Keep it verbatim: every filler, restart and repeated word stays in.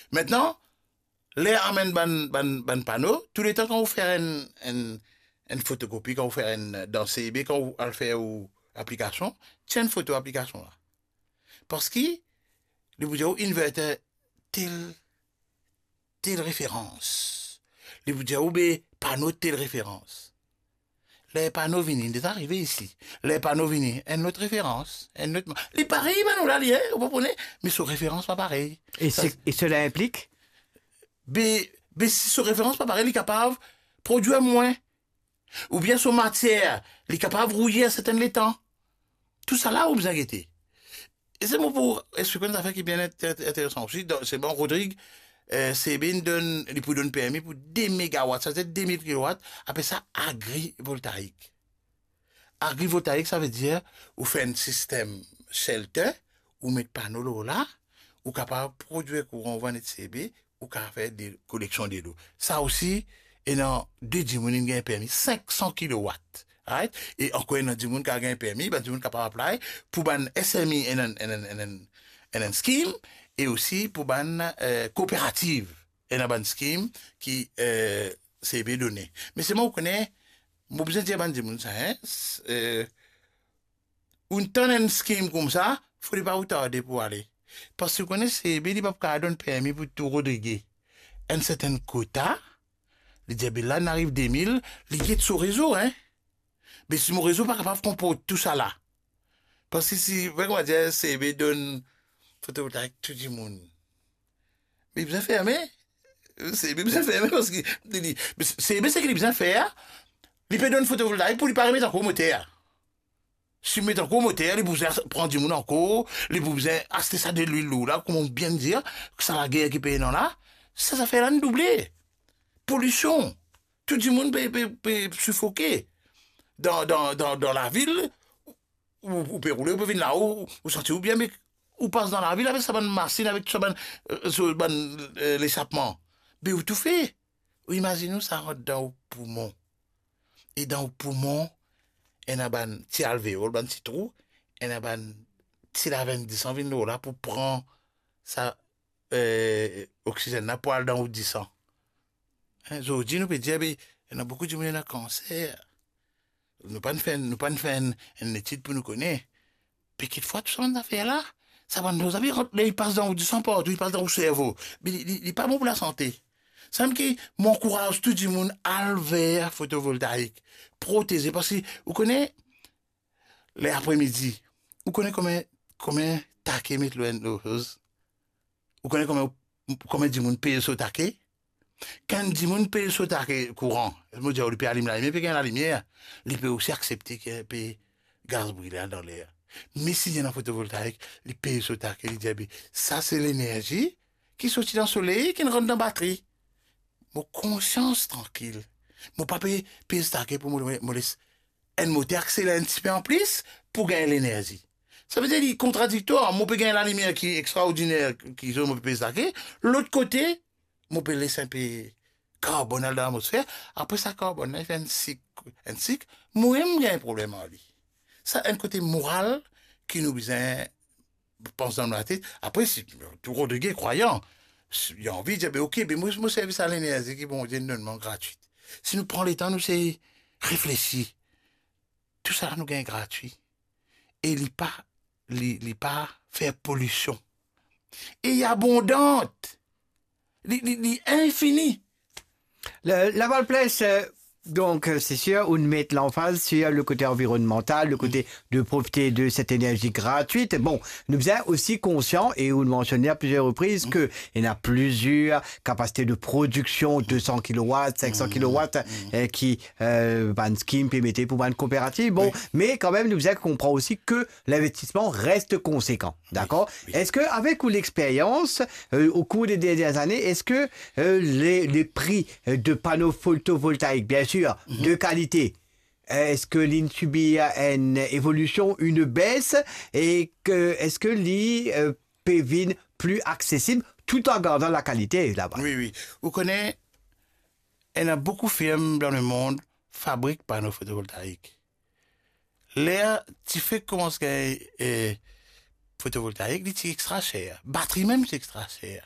Aster, ler amenn bann, bann, bann pano, touletan kan ou fer enn, enn, enn fotokopi, kan ou fer enn, dan C B, kan ou al fer ou aplikasion, tir enn foto aplikasion la. Parski li pou dir ou inverter tel, tel referans. Li pou dir ou be pano tel referans. Ler pano vini, li deza arive isi. Ler pano vini, enn lot referans, enn lot ma-, li parey pano la, li, hein, ou konpran, me so referans pa parey. E sa, se, e sela inplik? Be, be si so referans pa parey, li kapav prodwir mwin. Oubien so matier, li kapav rouye a sertenn letan. Tousala ou bizin gete. E se mo pou explik enn zafer ki bien int-, int-, interesan osi. Dan, se bon, Rodrig, eh, C B inn donn, li pou donn permi pou de megawat, sa vedir de mil kilowat, apel sa agrivoltaik. Agrivoltaik, sa vedir ou fer enn sistem shelter, ou met pano lor la, ou kapav prodwir kouran, ou vann enn C B, ou kapav fer de, koleksion delo. Sa osi, ena de dimoun inn gagn permi, sink san kilowat, right? E ankor ena dimoun ki al gagn permi, bann dimoun kapav apply pou bann S M E, ena, ena, ena, ena scheme, e osi pou bann, eh, kooperativ, ena bann scheme ki, eh, C B done. Me selman ou kone, mo bizin dir bann dimoun sa, hein, s-, eh, ou tann enn scheme koumsa, fode pa ou tarde pou ale. Parski ou kone C B, li pa pou kapav donn permi pou tou Rodrig. Enn sertenn kota, li dir, be la, inn ariv de mil, li get so rezo, hein. Me si mo rezo pa kapav konport tousala. Parski si, ver koumadir C B donn fotovoltaik tou dimoun, me li bizin ferme. C B bizin ferme parski li, li, C B seki li bizin fer, li pe donn fotovoltaik pou li pa remet ankor moter. Si met ankor moter, li pou bizin pran dimoun ankor, li pou bizin aste sa delwil lor la, kouma ou bien dir, sa lager ki pe ena la, sa zafer la inn double. Polision. Tou dimoun pe, pe, pe sifoke. Dan, dan, dan, dan lavil, ou, ou pe roule, ou pe vinn la, ou, ou santi ou bien, me ou pas dan lavil avek sa bann masinn, avek sa bann, eh, so bann, eh, lesapman. Be ou toufe. Ou imazinn ou sa rant dan ou poumon. E dan ou poumon, ena bann ti alveol, bann ti trou, ena bann ti lavenn disan vinn lor la pou pran sa, eh, oksizenn la pou al dan ou disan. Hein, zordi nou pe dir, be, ena boukou dimoun ena kanser. Nou pa'nn fer, nou pa'nn fer enn, enn letid pou nou kone. Be kikfwa tou sa bann zafer la, sa bann doz la, be, ler li pas dan ou disan partou, li pas dan ou servo. Be li, li, li pa bon pou lasante. Samem ki mo ankouraz tou dimoun al ver fotovoltaik, proteze, parski ou kone, ler apremidi, ou kone konbien, konbien take met lor enn loz? Ou kone konbien, konbien dimoun pey so take? Kan dimoun pey so take kouran, mo dir, li pe alim lalimier, li pe gagn lalimier, li pe osi aksepte ki pe gaz brile dan ler. Me si li ena fotovoltaik, li pey so take, li dir, be, sa se lenerzi ki sorti dan soley, ki rant dan batri. Mo konsians trankil. Mo pa pe pey so take pou mo, mo les enn moter akseler enn tipe anplis pou gagn lenerzi. Sa vedir li kontradiktwar. Mo pe gagn lalimier ki extraordiner, ki zot mo pe pey so take. Lot kote, mo pe les inpe karbonn al dan latmosfer. Apre sa karbonn la, li fer enn sik, enn sik. Mo mem gagn problem ar li. Sa enn kote moral ki nou bizin pans dan nou latet. Apre, si tou Rodrig krwayan, si li anvi dir, be, ok, be, mo, mo servi sa lenerzi ki Bondie donn mwa gratwit. Si nou pran letan, nou sey reflesi, tou sa nou gagn gratwi. E li pa, li, li pa fer polision. E li abondan. Li, li, li infini. Le, Laval Place, euh, donc, euh, c'est sûr, ou met l'emphase sur le côté environnemental, le côté de profiter de cette énergie gratuite. Bon, nou bizin osi konsian, e ou mansionn à plusieurs reprises, ke ena plizier kapasite de prodiksion, deux cents kilowatts, cinq cents kilowatts, euh, ki, euh, bann scheme pe mete pou bann kooperativ. Bon, me kanmem, nou bizin konpran osi ke l'investissement reste conséquent, dakor? Wi, wi. Eski, avek ou lexperyans, euh, au cours des dernières années, eski, euh, les, les prix, euh, de panneaux photovoltaïques, bien sûr, de qualité, euh, eski li subi enn evolision, enn bes, e ke, eski li, euh, pe vinn pli aksesib tout an gardan lakalite laba? Wi, wi. Ou kone, ena boukou firm dan lemond fabrik pano fotovoltaik. Ler ti fek koumans gagn, eh, fotovoltaik, li ti extra ser. Batri mem ti extra ser.